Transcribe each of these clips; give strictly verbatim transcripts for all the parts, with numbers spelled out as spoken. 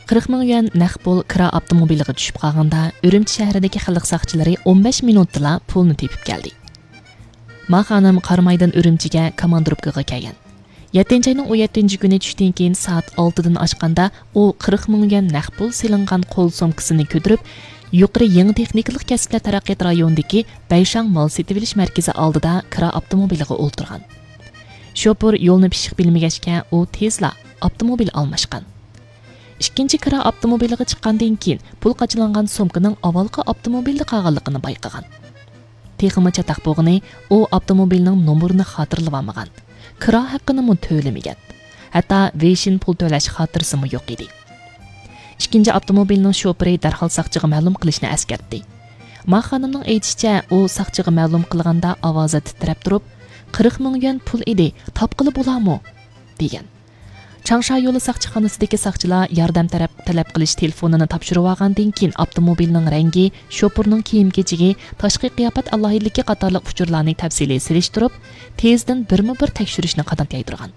قىرىق مىڭ يۈەن نەق پۇل كىرا ئاپتوموبىلىغا چۈشۈپ قالغاندا، ئۈرۈمچى شەھىرىدىكى خەلق ساقچىلىرى ئون بەش مىنۇتتىلا پۇلنى تېپىپ كەلدى. ما خانىم قارامايدىن ئۈرۈمچىگە كاماندىروپكىغا كەلگەن. يەتتىنچى ئاينىڭ ئون يەتتىنچى كۈنى چۈشتىن كېيىن سائەت ئالتىدىن ئاشقاندا، ئۇ قىرىق مىڭ يۈەن نەق پۇل سېلىنغان قول سومكىسىنى كۆتۈرۈپ، يۇقىرى يېڭى تېخنىكىلىق كەسىپلەر تەرەققىيات رايونىدىكى بەيشاڭ مال سېتىۋېلىش مەركىزى ئالدىدا كىرا ئاپتوموبىلىغا ئولتۇرغان. شوپۇر يولنى پىششىق بىلمىگەچكە، ئۇ تېزلا ئاپتوموبىل ئالماشقان. ئىككىنچى كىرا ئاپتوموبىلىغا چىققاندىن كېيىن، پۇل قاچىلانغان سومكىنىڭ ئاۋۋالقى ئاپتوموبىلدا قالغانلىقىنى بايقىغان. تېخىمۇ چاتاق بولغىنى، ئۇ ئاپتوموبىلنىڭ نومۇرىنى خاتىرىلىۋالمىغان، كىرا ھەققىنىمۇ تۆلىمىگەن، ھەتتا ۋېيشىن پۇل تۆلەش خاتىرىسىمۇ يوق ئىدى. ئىككىنچى ئاپتوموبىلنىڭ شوپۇرى دەرھال ساقچىغا مەلۇم قىلىشنى ئەسكەرتتى. ما خانىمنىڭ ئېيتىشىچە، ئۇ ساقچىغا مەلۇم قىلغاندا ئاۋازى تىترەپ تۇرۇپ، «قىرىق مىڭ يۈەن پۇل ئىدى، تاپقىلى بولامۇ؟» دېگەن. چاڭشا يولى ساقچىخانىسىدىكى ساقچىلار ياردەم تەرەپ، تەلەپ قىلىش تېلېفونىنى تاپشۇرۇۋالغاندىن كېيىن، ئاپتوموبىلنىڭ رەڭگى، شوپۇرنىڭ كىيىم-كېچىكى، تاشقى قىياپەت ئالاھىدىلىكى قاتارلىق ئۇچۇرلارنى تەپسىلىي سېلىشتۇرۇپ، تېزدىن بىرمۇ بىر تەكشۈرۈشنى قانات يايدۇرغان.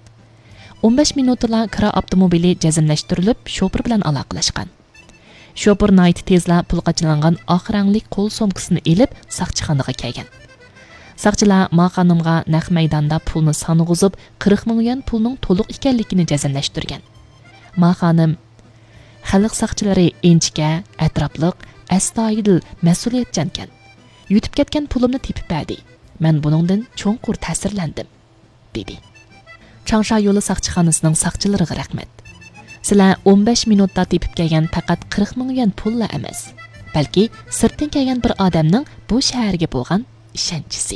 ئون بەش مىنۇتتىلا كىرا ئاپتوموبىلى جەزملەشتۈرۈلۈپ، شوپۇر بىلەن ئالاقىلەشكەن. شوپۇر ناھايىتى تېزلا پۇل قاچىلانغان ئاق رەڭلىك قول سومكىسىنى ئېلىپ، ساقچىخانىغا كەلگەن. ساقچىلار ما خانىمغا نەق مەيداندا پۇلنى سانىغۇزۇپ، قىرىق مىڭ يۈەن پۇلنىڭ تولۇق ئىكەنلىكىنى جەزملەشتۈرگەن. ما خانىم، «خەلق ساقچىلىرى ئىنچىكە، ئەتراپلىق، ئەستايىدىل، مەسئۇلىيەتچانكەن. يۈتۈپ كەتكەن پۇلۇمنى تېپىپ بەردى. مەن بۇنىڭدىن چوڭقۇر تەسىرلەندىم» دېدى. چاڭشا يولى ساقچىخانىسىنىڭ ساقچىلىرىغا رەھمەت. سىلەر ئون بەش مىنۇتتا تېپىپ كەلگەن پەقەت قىرىق مىڭ يۈەن پۇللا ئەمەس، بەلكى سىرتتىن كەلگەن بىر ئادەمنىڭ بۇ شەھەرگە بولغان ئىشەنچىسى.